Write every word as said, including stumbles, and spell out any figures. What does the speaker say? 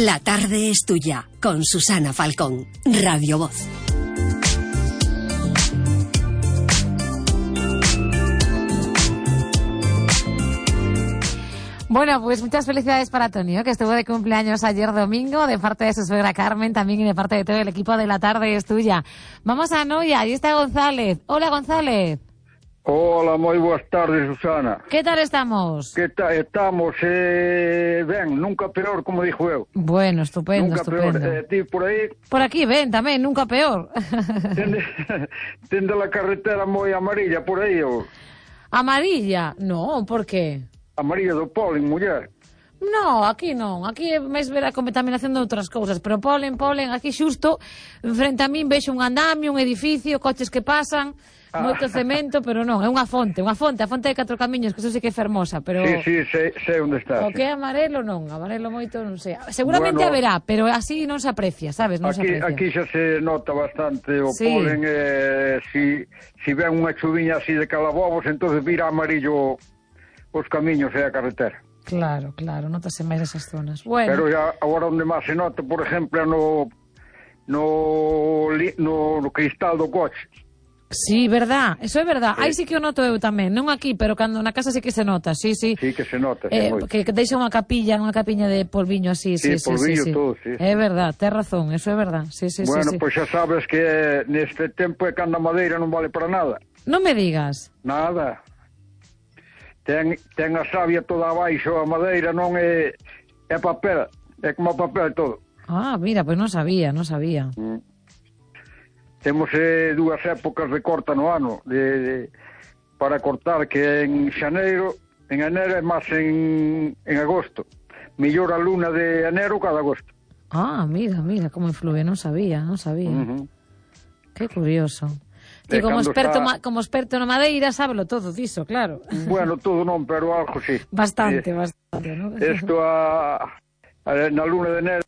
La tarde es tuya, con Susana Falcón, Radio Voz. Bueno, pues muchas felicidades para Antonio, que estuvo de cumpleaños ayer domingo, de parte de su suegra Carmen, también y de parte de todo el equipo de La Tarde es Tuya. Vamos a Noia, ahí está González. Hola, González. Hola, moi boas tardes, Susana. Que tal estamos? Que tal? Estamos, eh, ben, nunca peor, como dixo eu. Bueno, estupendo, nunca estupendo. Peor. Eh, ti por aí... Por aquí, ven, tamén, nunca peor. Tende, tende la carretera moi amarilla por aí, ou... Amarilla? No, por qué? Amarilla do polen, muller. No, aquí non, aquí é máis ver a contaminación de outras cousas, pero polen, polen, aquí xusto, frente a min vexo un andamio, un edificio, coches que pasan, ah. moito cemento, pero non, é unha fonte, unha fonte, a fonte de Catro Camiños, que eso sí que é fermosa, pero... Sí, sí, sei, sei onde está. O que é amarelo non, amarelo moito non sei. Seguramente bueno, haberá, pero así non se aprecia, sabes, non aquí, se aprecia. Aquí xa se nota bastante o sí. polen, eh, si, si ven unha chuviña así de calabobos, entonces vira amarillo os camiños e a carretera. Claro, claro, notase máis esas zonas. Bueno. Pero ya agora onde máis se nota, por exemplo, no no no, no cristal do coche. Sí, verdad, eso é verdad. Sí. Aí sí que o noto eu tamén, non aquí, pero cando na casa sí que se nota, sí, sí. Sí que se nota, sí, eh, moito. Que, que deixa unha capilla, unha capiña de polviño así, sí, sí, sí, polvillo sí, sí. todo, sí. É verdad, tes razón, eso é verdad. Sí, sí, bueno, sí, sí. pois xa sabes que neste tempo é cando a madeira non vale para nada. Non me digas. Nada. Ten, ten a savia toda abaixo, a madeira non é, é papel, é como papel todo. Ah, mira, pois non sabía, non sabía. Mm. Temos eh, dúas épocas de corta no ano, de, de, para cortar, que en xaneiro, en enero e máis en, en agosto. Mellor a luna de enero cada agosto. Ah, mira, mira, como influye, non sabía, non sabía. Uh-huh. Que curioso. Que como experto, está... como experto na madeira, sábelo todo diso, claro. Bueno, todo non, pero algo sí. Bastante, eh, bastante, ¿no? Isto a, a, na luna de enero